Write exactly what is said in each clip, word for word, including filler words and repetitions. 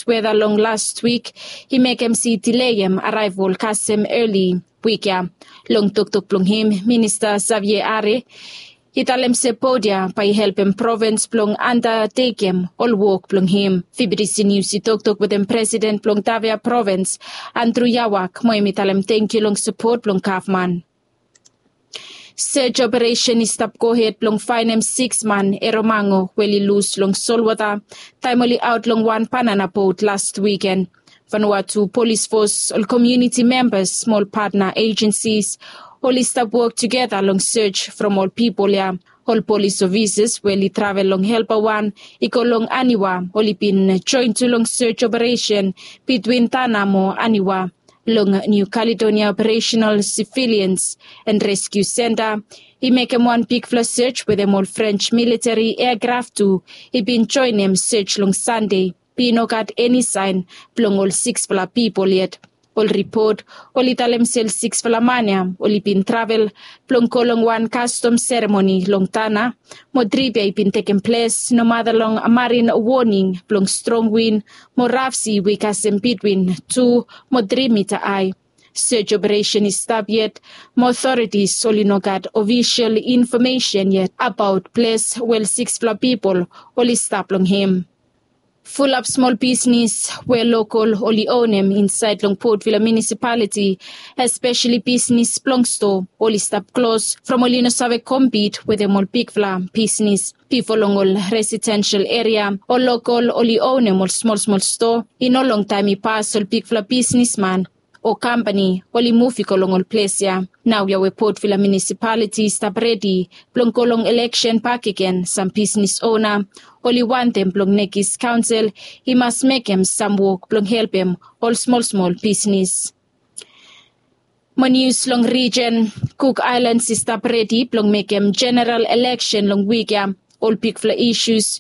weda long las wik i mekem se i dileim araevol kasem eli wik ya. Long toktok blong him, Minista Xavier Are i talem se bot ya bae i helpem provins blong andatekem ol wok blong him. Fibidisi Nius i toktok wetem presiden blong Tafea provins, Andrew Yawak, mo hem i talem tangkiu long sapot blong gavman. Sej operesen i stap gohed blong faenem siks man Eromango we oli lus long solwota taem oli aot long wan banana bot las wiken. Vanuatu Polis Fos, ol komuniti membas mo ol patna ejensis oli stap wok tugeta long sej from ol pipol ya. Ol polis ofisas we oli travel long helpa wan i go long Aniwa oli bin joen tu long sej operesen bitwin Tana mo Aniwa. Long Niu Kaledonia Operational Civilians and Rescue Center i mekem wan bigfala sej wetem ol French militeri eakraf tu i bin joenem sej long Sande. Be i no gat eni saen blong ol siksfala pipol yet. Ol ripot oli talem se ol siksfala man ya oli bin travel blong go long wan kastom seremoni long Tana, mo trip ya i bin tekem ples nomata long marin woning blong strong win mo raf si we i kasem bitwin tu mo tri mita ae. Sej operesen i stap yet, mo otoritis oli no gat ofisol infomesen yet abaot ples we ol siksfala pipol oli stap long hem. Fulap smol bisnis we lokol oli onem insaed long Port Vila Munisipaliti, espeseli bisnis blong stoa, oli stap klos from oli no save kompit wetem ol bigfala bisnis. Bifo long ol residensel eria, ol lokol oli onem ol smolsmol stoa. I no longtaem i pas ol bigfala bisnisman o kampani oli muv i go long ol ples ya. Naoia we Port Vila Munisipaliti i stap redi blong go long eleksen bakegen, sam bisnis ona oli wantem blong nekis kaonsel i mas mekem sam wok blong helpem ol smolsmol bisnis. Mo nius long rijen, Cook Islands i stap redi blong mekem jeneral eleksen long wik ya. Ol bigfala isus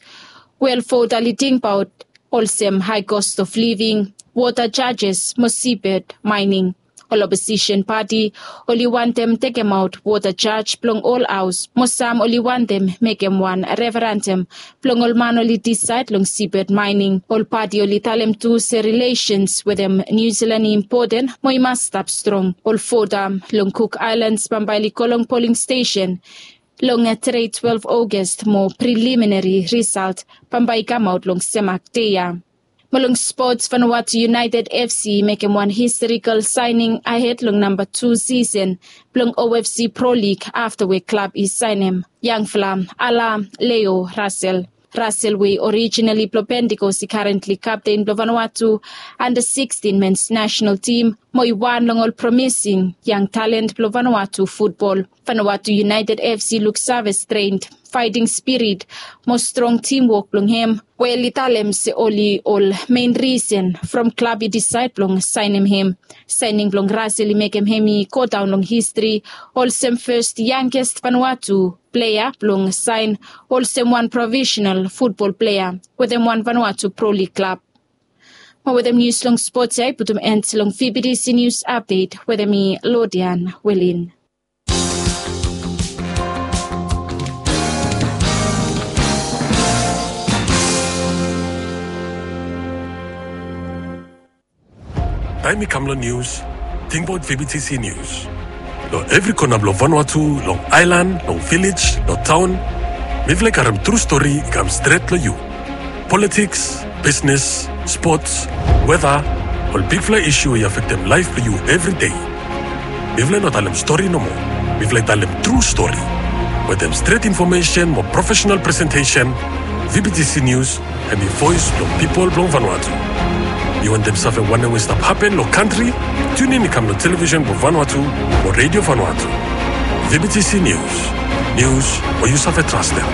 we ol vota oli tingbaot olsem hae kos of living, wota jajes mo sibed maening. Ol oposisen pati oli wantem tekemaot wota jaj blong ol haos, mo sam oli wantem mekem wan referandam blong ol man oli disaed long sibed maening. Ol pati oli talem tu se rilesens wetem Niu Silan i impoten mo i mas stap strong. Ol vota long Cook Islands bambae oli go long poling stesen long tede twelve August mo preliminari risalt bambae i kamaot long semak dei ya. Mo long spots, Vanuatu United F C i mekem wan historikal saening ahed long namba tu sisen blong O F C Pro League afta we klab i saenem yangfala Ala Leo Russell. Russell we i orijinali blong Pentikos i karentli kapten blong Vanuatu anda sikstin mens nasenal tim mo i wan long ol promising yang talen blong Vanuatu futbol. Vanuatu United F C luksave strengt, faeting spirit mo strong timwok blong hem we oli talem se oli ol mein risen from klab i disaed blong saenem hem. Saening blong Russell i mekem hem i godaon long histri olsem fes yangest Vanuatu plea blong saen olsem wan profesenal futbol plea wetem wan Vanuatu Pro League klab. Mo wetem nius long spots ya i putum en long V B T C Nius Apdet wetem mi, Lodian Welin. Taem i kam long nius, tingbaot V B T C Nius. Long evri kona blong Vanuatu, long aelan, long vilej, long taon, mifala i karem tru stori i kam stret long yu. Politiks, bisnes, spots, weta, ol bigfala isu we i afektem laef blong yu evri dei. Mifala i no talem stori nomo. Mifala i talem tru stori wetem stret infomesen mo profesenal presentesen. V B T C Nius hem i voes blong pipol blong Vanuatu. Yu wantem save wanem we i stap hapen long kantri? Tiunin i kam long televisen blong Vanuatu mo Redio Vanuatu. V B T C Nius, nius we yu save trastem.